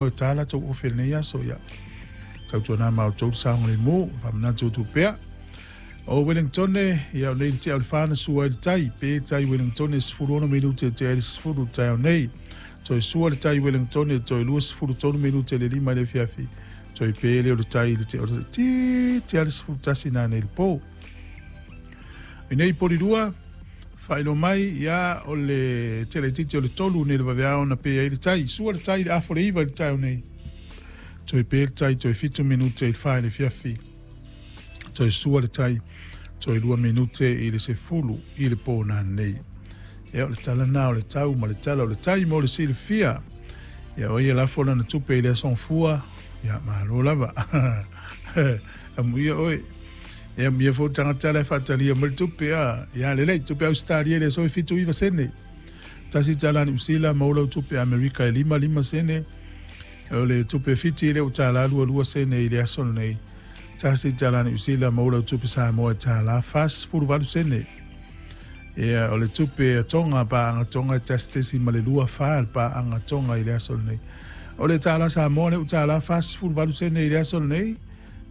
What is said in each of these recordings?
E tā latou ofe i lenei aso, ia tautuana ma outou le saogalemu, faamanatu atu pea. O Wellingtone, ia o nei le tea o le fa na sua ai le tai, pe tai Wellingtone 16 minute e tea ai le 10 taeao nei. Toe sua le tai Wellingtone toe 23 minute le 5 i le afiafi. Toe pe lea o le tai i le tea o le tea le 11 nanei i le po. I nei Polirua, faailoa mai, ia, o le tele itiiti o le 3 nei le vaveao na pe ai le tai. Sua le tai i le afa o le 9 i le taeao nei. Toe pe le tai toe 7 minute i le 4 i le afiafi. Toe sua le tai toe 2 minute i le 10 i le po nanei. Ia, o le tala na o le tau ma le tala o le tai mo le silafia. Ia, o ai e lafo lana tupe i le aso Gafua, ia, malo lava. Amuia oe. E amuia foi le tagata la e faatalia mai le tupe a. Ia lelei, tupe Ausetalia i le aso e 79 sene. Tasi tala Niu Sila maua lau tupe Amerika e 55 sene. O le tupe Fiti lea ua tala 22 sene i le aso lenei. Tasi tala Niu Sila maua lau tupe Samoa e tala 48 sene. Ia, o le tupe a Tonga, paaga Tonga e 1.24 le paaga Tonga i le aso lenei. O le tala Samoa lea ua tala 48 sene i le aso lenei.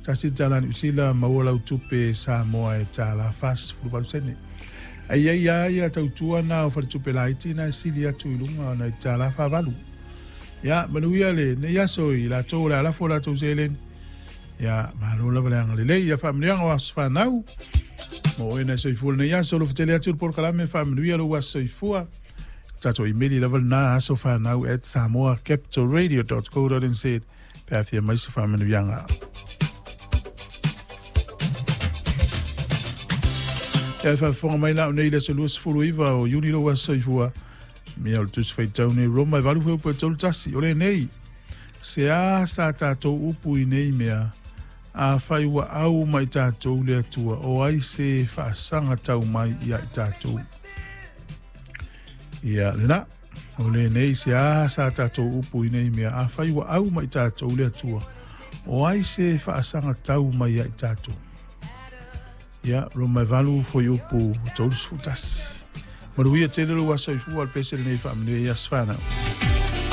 Tasi tala Niu Sila maua lau tupe Samoa e tala 48 sene. Ai ai a ia tautua na o faletupe laiti na e sili atu i luga ona i tala 48. Ia, manuia le nei aso i latou o le a lafo latou seleni. Ia, malo lava le agalelei. Ia faamanuiaga o aso fanau. Mo oe na e soifua lenei aso, alofa tele atu le polokalame, faamanuia lou aso soifua. Tatou imeli lava lena asofanau@samoacapitalradio.co.nz pe a fia mai se faamanuiaga. Ia e faafofoga mai la o nei le aso 29 o Iuni lou aso soifua. Mea o le Tusi Faitau nei Roma e 8 fuaiupu e 31. O lenei, se a sa tatou upu i nei mea, afai ua au mai tatou le Atua, o ai se faasaga tau mai ia i tatou? Ia lena. O lenei se a sa tatou upu i nei mea, afai ua au mai tatou le Atua, o ai se faasaga tau mai ia i tatou? Ia, Roma e 8 fuaiupu 31. Manuia tele lou aso soifua, o le pese lenei faamanuia i aso fanau.